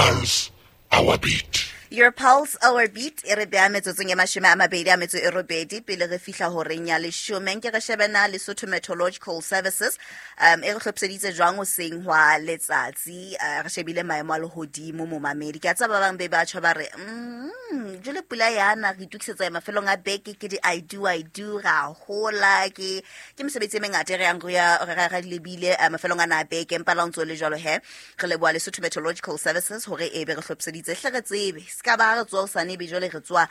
pulse, our beat. Your pulse, our beat e re beha metsotsong e 28 pele re fihla horeng ya 10. Nke re shebe na Lesotho Meteorological Services e re hlophiseditse jwang hoseng hwa letsatsi. Re shebile maemo a lehodimo momamedi. Ke a tseba ba bang be batjha ba re jwale pula yana re itokisetsa mafelong a beke ke di I do I do ra hola ke mesebetsi e mengata e re yang re ya re lebile mafelong ana a beke, empa la o ntso le jwalo he re leboha Lesotho Meteorological Services hore e be re hlophiseditse hle re tsebe se ka ba re tsoa hosane ebe jwale re tsoa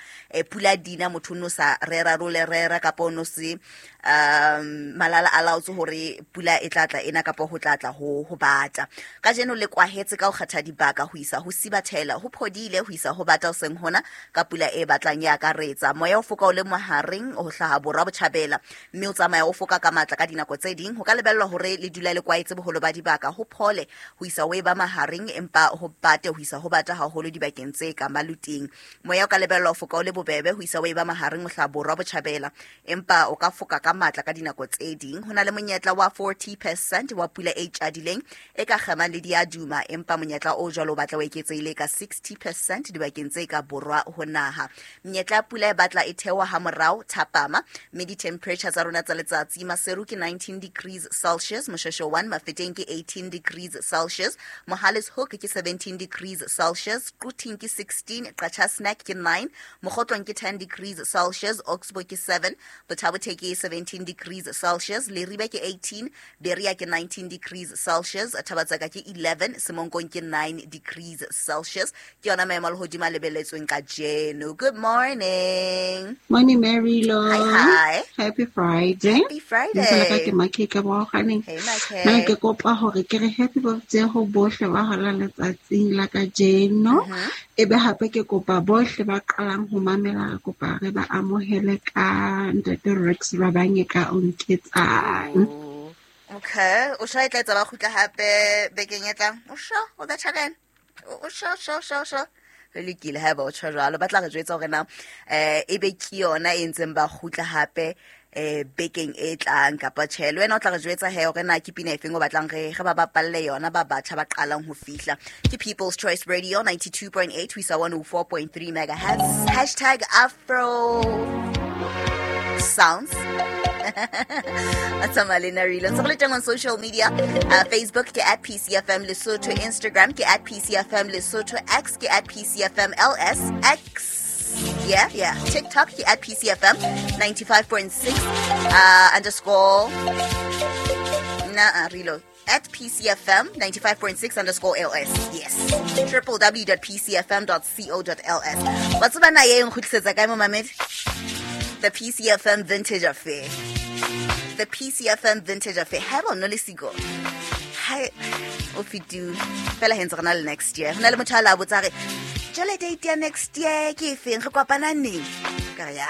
pula dina motho o no sa rera role rera kapa o no se malala a laotse hore pula e tla tla ena kapa ho tla tla ho bata. Kajeno le kwahetse ka ho kgetha dibaka ho isa ho Sibathela, ho phodile ho isa ho bata hoseng hona ka pula e batlang e akaretsa. Moya o foka o le mohareng ho hlaha borwa botjhabela mme o tsamaya o foka ka matla ka dinako tse ding. Ho ka lebellwa hore le dula le kwaetse boholo ba dibaka, ho phole ho isa ho e ba mahareng empa ho bate ho isa ho bata haholo dibakeng tse ka maluting. Moya o ka lebellwa ho foka o le bobebe ho isa ho e ba mahareng ho hlaha borwa botjhabela empa o ka foka ka matla ka dinako tse ding. Ho na le monyetla wa 40% wa pula e tjadileng e ka kgemang le diaduma, empa monyetla o jwalo o batla o eketsehile ka 60% dibakeng tse ka borwa ho naha. Menyetla ya pula e batla e theoha ha morao thapama, mme di-temperature tsa rona tsa letsatsi Maseru ke 19 degrees Celsius, Moshweshwe 1 Mafeteng ke 18 degrees Celsius, Mohale's Hoek ke 17 degrees Celsius, Quthing ke 16, Qacha's Nek ke 9, Mokhotlong ke 10 degrees Celsius, Oxbow ke 7, Botha-Bothe ke 17 degrees Celsius, Leribe ke 18, Berea ke 19 degrees Celsius, Thabatsaka ke 11, Semonkong ke 9 degrees Celsius. Ke yona maemo a lehodimo a lebelletsweng kajeno. Good morning. Morning, Mary Lo. Hi, hi. Happy Friday. Happy Friday. Lebitso la ka ke Makhe ka Boaganeng. Hey, Makhe. Nna ke kopa hore ke re happy birthday ho bohle ba holang letsatsing la kajeno. Ebe hape ke kopa bohle ba qalang ho mamela, re kopa re ba amohele ka Ntate Rex Rabanye ka o nketsang. Okay, o sure e tla etsa ba kgutla hape bekeng e tlang? O sure o betjha ka ena? O sure, sure, sure, sure. Re lokile ha eba o tjho jwalo. Ba tla re jwetsa hore na ebe ke yona e ntseng ba kgutla hape bekeng e tlang kapa tjhe. Le wena o tla re jwetsa he hore na ke pina efeng o batlang re ba bapalle yona ba batjha ba qalang ho fihla. Ke People's Choice Radio 92.8 ho isa 104.3 megahertz. Hashtag Afro Sounds. Tsamaya le nna Rilo. Ntse go le teng on social media. Facebook ke at PCFM Lesotho, Instagram ke at PCFM Lesotho, X ke at PCFM LS, X, yeah, yeah, TikTok ke at PCFM 95.6 underscore na Rilo at PCFM 95.6 underscore LS. Yes. www.pcfm.co.ls. Wa tseba na ye e nkgutlisetsa kae momamedi? The PCFM Vintage Affair. The PCFM Vintage Affair. Ha eba o no le siko. Ha o fetile. Fela he ntse re na le next year. Ho na le motho a la botsa re, jwale date ya next year ke efeng? Re kopana neng? Ka re, ya.